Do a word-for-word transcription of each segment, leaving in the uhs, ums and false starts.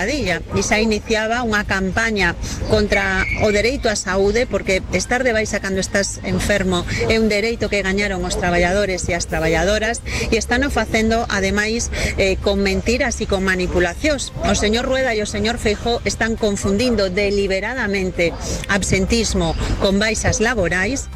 E xa iniciaba unha campaña contra o dereito á saúde, porque estar de baixa cando estás enfermo é un dereito que gañaron os traballadores e as traballadoras, e están o facendo, ademais, eh, con mentiras e con manipulacións. O señor Rueda e o señor Feijóo están confundindo deliberadamente absentismo con baixas laborais.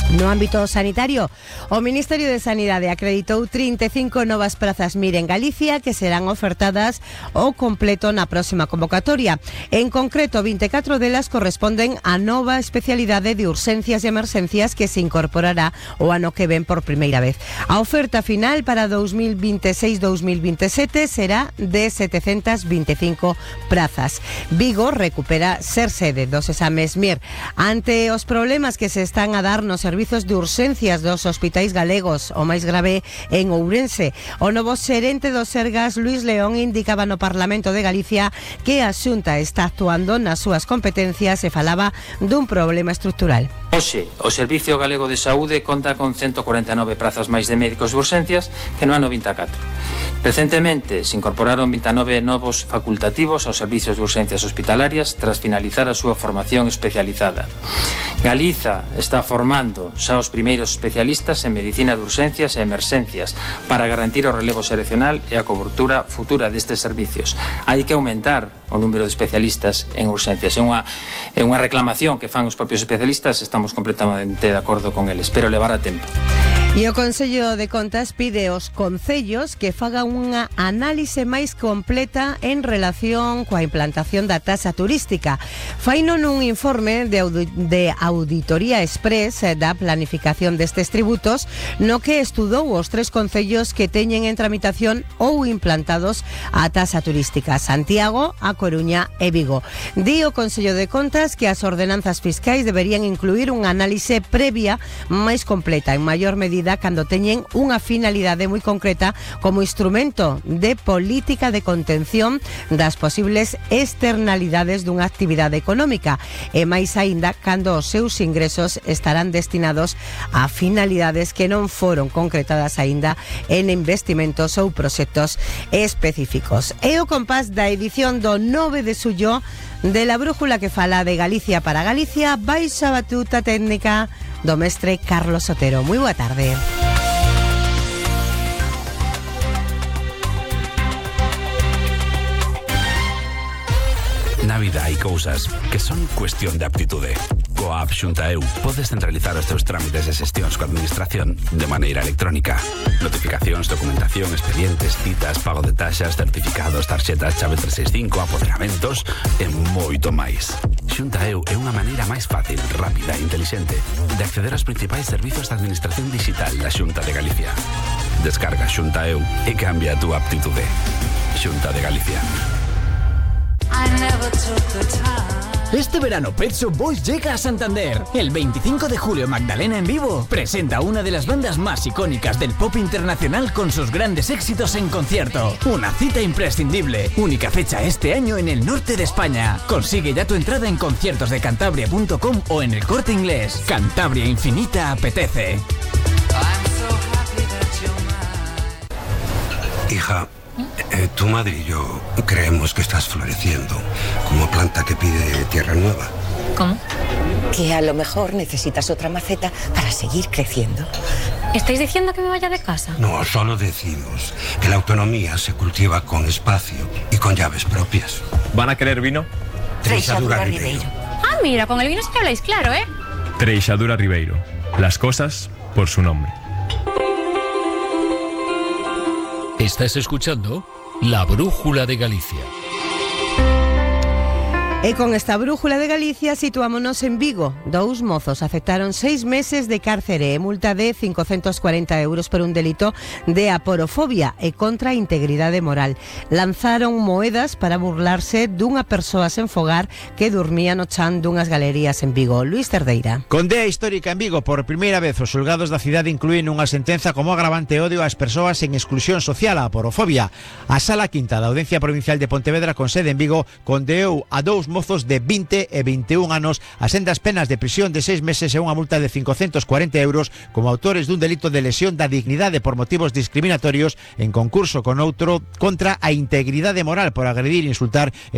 No ámbito sanitario, o Ministerio de Sanidade acreditou trinta e cinco novas prazas M I R en Galicia que serán ofertadas ao completo na próxima convocatoria. En concreto, vinte e catro delas corresponden á nova especialidade de urxencias e emerxencias que se incorporará o ano que ven por primeira vez. A oferta final para dous mil vinte e seis dous mil vinte e sete será de setecentas vinte e cinco prazas. Vigo recupera ser sede dos exames M I R. Ante os problemas que se están a dar nos servizos de urxencias dos hospitais galegos, o máis grave en Ourense, o novo xerente do Sergas, Luís León, indicaba no Parlamento de Galicia que a Xunta está actuando nas súas competencias e falaba dun problema estrutural. Hoxe, o Servicio Galego de Saúde conta con ciento cuarenta e nove prazas máis de médicos de urxencias que no ano vinte e catro. Recentemente se incorporaron vinte e nove novos facultativos aos servicios de urxencias hospitalarias tras finalizar a súa formación especializada. Galiza está formando xa os primeiros especialistas en medicina de urxencias e emerxencias para garantir o relevo seleccional e a cobertura futura destes servicios. Hai que aumentar o número de especialistas en urxencias. É unha, é unha reclamación que fan os propios especialistas, estamos completamente de acordo con eles, pero levará tempo. E o Consello de Contas pide aos concellos que fagan unha análise máis completa en relación coa implantación da taxa turística. Faino nun informe de, audi de auditoría express da planificación destes tributos, no que estudou os tres concellos que teñen en tramitación ou implantados a taxa turística: Santiago, A Coruña e Vigo. Di o Consello de Contas que as ordenanzas fiscais deberían incluir unha análise previa máis completa, en maior medida cando teñen unha finalidade moi concreta como instrumento de política de contención das posibles externalidades dunha actividade económica, e máis aínda cando os seus ingresos estarán destinados a finalidades que non foron concretadas aínda en investimentos ou proxectos específicos. É o compás da edición do nove de xullo de La Brújula, que fala de Galicia para Galicia, baixo a batuta técnica do mestre Carlos Otero. Moi boa tarde. Na vida hai cousas que son cuestión de aptitude. Coa app Xunta E U podes centralizar os teus trámites e xestións coa administración de maneira electrónica. Notificacións, documentación, expedientes, citas, pago de taxas, certificados, tarxetas, chave trescentos sesenta e cinco, apoderamentos e moito máis. Xunta E U é unha maneira máis fácil, rápida e intelixente de acceder aos principais servizos de administración digital da Xunta de Galicia. Descarga Xunta E U e cambia a túa aptitude. Xunta de Galicia. Este verano Pet Shop Boys llega a Santander. El veinticinco de julio Magdalena en vivo presenta una de las bandas más icónicas del pop internacional con sus grandes éxitos en concierto. Una cita imprescindible. Única fecha este año en el norte de España. Consigue ya tu entrada en conciertos de cantabria punto com o en El Corte Inglés. Cantabria Infinita apetece. Hija, eh, tu madre y yo creemos que estás floreciendo como planta que pide tierra nueva. ¿Cómo? Que a lo mejor necesitas otra maceta para seguir creciendo. ¿Estáis diciendo que me vaya de casa? No, solo decimos que la autonomía se cultiva con espacio y con llaves propias. ¿Van a querer vino? Treixadura Ribeiro. Ah, mira, con el vino sí que habláis claro, ¿eh? Treixadura Ribeiro. Las cosas por su nombre. Estás escuchando La Brújula de Galicia. E con esta Brújula de Galicia situámonos en Vigo. Dous mozos aceptaron seis meses de cárcere e multa de cincocentos cuarenta euros por un delito de aporofobia e contra a integridade moral. Lanzaron moedas para burlarse dunha persoa sen fogar que dormía no chan dunhas galerías en Vigo. Luís Cerdeira. Condea histórica en Vigo. Por primeira vez os xulgados da cidade inclúen unha sentenza como agravante odio ás persoas en exclusión social, a aporofobia. A Sala Quinta da Audiencia Provincial de Pontevedra, con sede en Vigo, condeou a dous dous mozos de vinte e vinte e un anos, as sendas penas de prisión de seis meses e unha multa de cincocentos cuarenta euros como autores dun delito de lesión da dignidade por motivos discriminatorios en concurso con outro contra a integridade moral por agredir, insultar